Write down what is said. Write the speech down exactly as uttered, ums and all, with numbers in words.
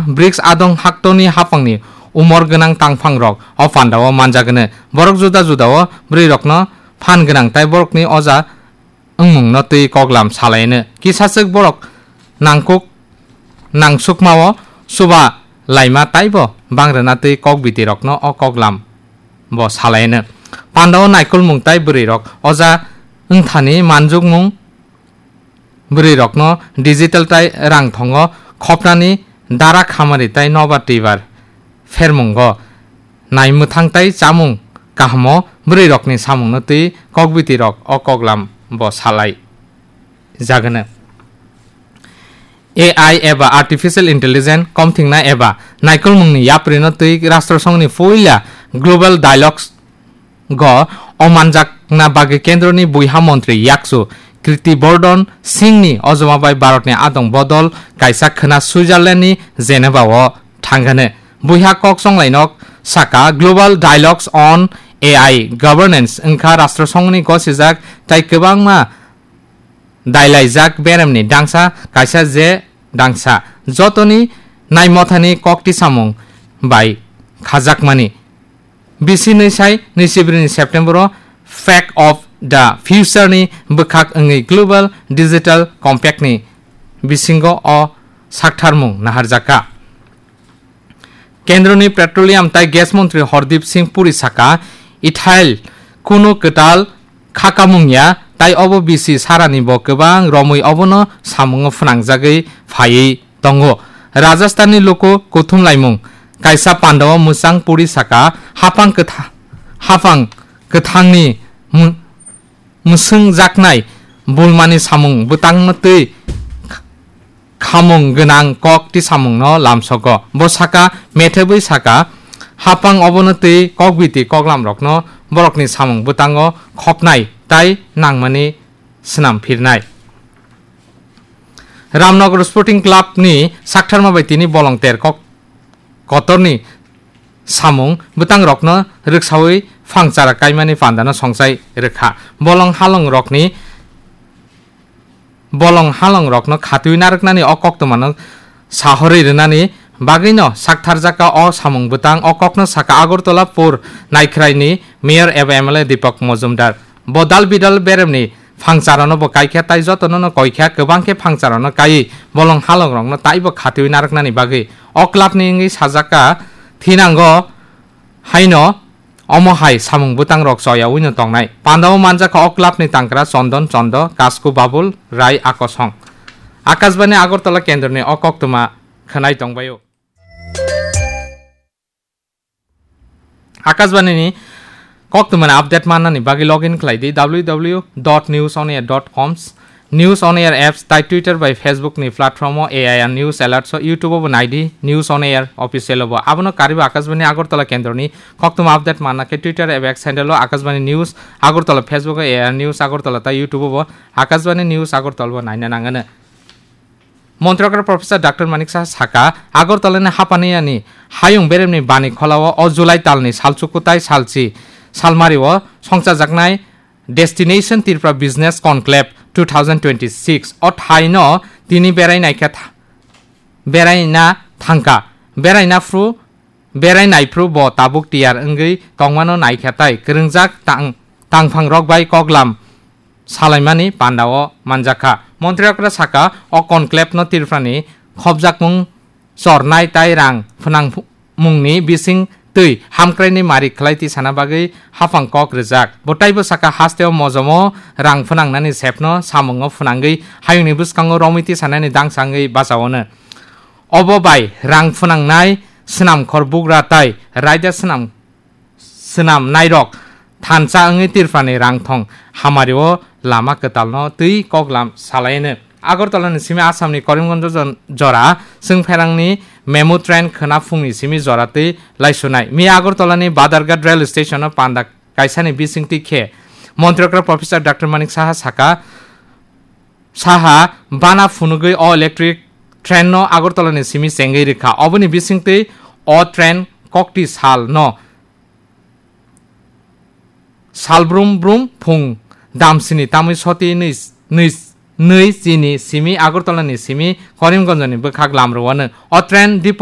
BRICS adong haktoni haphangni umor gwnang tangphangrok o pandao manjagwno. Borok juda judao bwrwirokno phan gwnang tai borokni oja wngmungno twi koklam salaino. Kisaswk borok nangkuk nangsukmao chuba laima taibo bangrwna twi kokbitirokno o koklam bo salaino. Pandao naikolmung tai bwrwirok oja wngthani manjukmung bwrwirokno digital tai rang thongo khopnani dara khamari tai nobar twibar phermungo nai mwthang tai chamung kahamo bwrwirokni samungno twi kokbitirok o koklam bo salai jagwno. A I eba Artificial Intelligence komthingna eba naikolmungni yaprino twi Rashtra Songhni puila Global Dialogues go omanjakna bagwi kendroni buiha montri yakchu Kirti Bardhan Singhni ojoma bai Bharatni adong bodol kaisa khwna Switzerlandni Geneva-o thangkhe buiha kok chonglainok saka Global Dialogues on A I Governance wngkha Rashtra Songhni gosijak tai kwbangma dailaijak beremni dangsa kaisa je dangsa jotoni naimothani kokti samung bai khajakmani. Bisi nwi sai nwi sibrini September-o Fact of the Future-ni bwkhak wngwi Global Digital Compact-ni bisingo o saktharmung naharjakha. Kendroni Petroleum tai Gas Montri Hardip Singh Puri saka, ethyl kunu kwtal khakamung ya, tai obo bisi sarani bo kwbang romwi obono samungo phwnangjagwi phaiwi tongo. Rajasthanni luku kuthumlaimung kaisa pandao mwchang Puri saka, hapang kwtha-, hapang kwthangni mu-, mwswngjaknai bulmani samung bwtangno twi khamung gwnang kok tisamungno lamsogo. Bo saka, methebwi saka, hapang obono twi kokbiti koklamrokno borokni samung bwtango khopnai tai nangmani swnam phirnai. Ramnagar Sporting Club-ni saktharma bai tini bolong ter kok kotorni samung bwtangrokno rwksawi phangchara kaimani pandano songchai rwkha. Bolong halongrokni, bolong halongrokno khatwi narwknani o koktwmano sahorwi rwnani bagwino saktharjakha o samung bwtang. O kokno saka Agartala Pur Naikhraini Mayor eba M L A Deepak Majumdar. Bo dal bidal beremni phangcharano bo kaikha tai jotono no koikha, kwbang khe phangcharano kaiwi bolong halongrokno taibo khatwi narwknani bagwi o clubni wngwi sajakha thinango haino omo hai samung bwtangrok choyawino tongnai. Pandao manjakha o clubni tangkra Chondon Chondo, Kasku Babul, Rai Akosong. Akashbani Agartala kendroni o koktwma khwnai tongbaio. Akashbani ni koktwmani update mannani bagwi login khlai di W W W dot news on air dot com, News on Air apps tai Twitter bai Facebook ni platform o A I R News Alerts o, YouTube o bo nai di News on Air official o bo. Abono karwi bo Akashbani Agartala kendroni koktwma update manna khe Twitter eba X handle o Akashbani News Agartala, Facebook o A I R News Agartala tai YouTube o bo Akashbani News Agartala bo naina nangano. Montri okra Professor Doctor Manik Saha saka, Agartala ni Hapaniyani hayung beremni bani kholao o July talni salchuku tai salchi salmari o songchajaknai Destination Tripura Business Conclave two thousand twenty-six o thaino tini berai naikha tha-, berai na thangkha, berai na phru, berai naiphru bo tabuk tiyar wngwi tongmano naikha tai kwrwngjak tang-, tangphangrok bai koklam salaimani pandao manjakha. Montri okra saka, o conclave no Tripurani khopjakmung chornai tai rang phwnangmungni bising twi hamkraini mari khlai tisana bagwi haphang kok rwjak. Bo taibo saka hasteo mojomo rang phwnangnani sepno samungo phwnangwi hayungni bwskango romwi tisanani dangsa wngwi bachaono. Obo bai rang phwnangnai swnamkhor bugra tai raida swnam swnam nairok thansa wngwi Tripurani rangthong hamario lama kwtalno twi koklam salaino. Agartala ni simi Assam ni Karimganj jon-, jora Chwngpherangni memo train khwna phungni simi jora twi laisunai. Miya Agartala ni Badharghat rail station o panda kaisani bisingtwi khe Montri okra Professor Doctor Manik Saha saka, Saha bana phunugwi o electric train no Agartala ni simi chengwi rwkha. Oboni bisingtwi o train kokti sal no sal brum brum phung damsini tamwi soti nwi, nwi, nwi chini simi Agartala ni simi Karimganj ni bwkhak lamrwano. O train depot